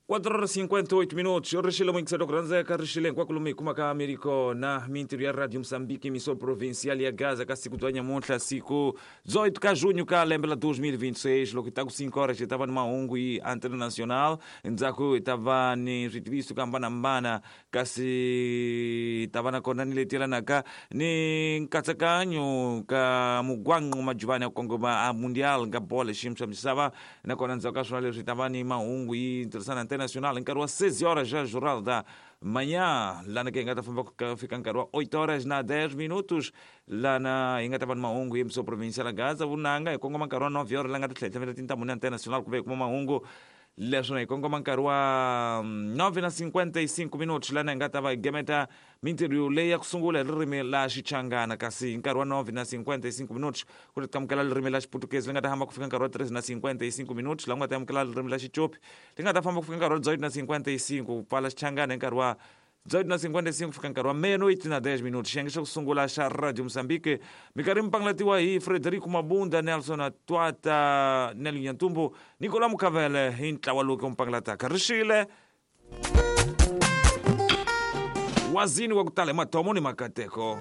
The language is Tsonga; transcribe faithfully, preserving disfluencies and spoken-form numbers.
quatro horas e cinquenta e oito minutos. Rixile muito kuranzeka rixile hinkwako lomu hi kumaka mi kona mintirho ya Radio Moçambique, emissora provincial ya Gaza ka siku bya nyamuntlha, siku dezoito ka junho ka lembe la dois mil e vinte e seis, loko hi ta ku cinco horas hi ta va ni mahungu hi internacional, endzhaku hi ta va ni switiviso ku hambanahambana, kasi hi ta va na kona ni leti yelanaka ni nkatsakanyo ka mugwanqo majuvani ya ku kongoma a mundial ka bolo xiyimo xa misava, nakona ndzhaku ka swona leswi hi ta va ni mahungu hi tirhisana nacional nkarhi wa seis horas já jornal da manhã, lá na que hi nga ta famba fika nkarhi wa oito horas na dez minutos, lá na hi nga ta va ni mahungu hi emissora provincial ya Gaza vunanga hi kongoma nkarhi wa nove horas la nga ta tlhela hi tintambu na internacional ku ve hi kuma mahungu leswona hi kongoma nkarhi wa nove na cinquenta e cinco minutos, lana hi nga ta va hi gemeta mintirho leyi ya ku sungula hi ririmi la Xichangana, kasi hi nkarhi wa nove na cinquenta e cinco minutos ku ri amukela ririmi la Xiputukezi li nga ta hamba ku fika nkarhi wa treze na cinquenta e cinco minutos, laha ku nga ta amukela ririmi la Xicopi li nga ta famba ku fika nkarhi wa dezoito na cinquenta e cinco, ku pfala Xichangana hi nkarhi wa dezoito na cinquenta e cinco fika nkarhi wa meia-noite na dez minutos. Xiyenge xa ku sungula xa Radio Moçambique minkarhi mi pangalatiwa hi Frederico Mabunda, Nelson Atwata, Nelly Nyantumbu, Nicolas Mukavele hi ntlawa lowu ku pangalataka. Rixile wazini wa ku tala hi matomo ni makateko.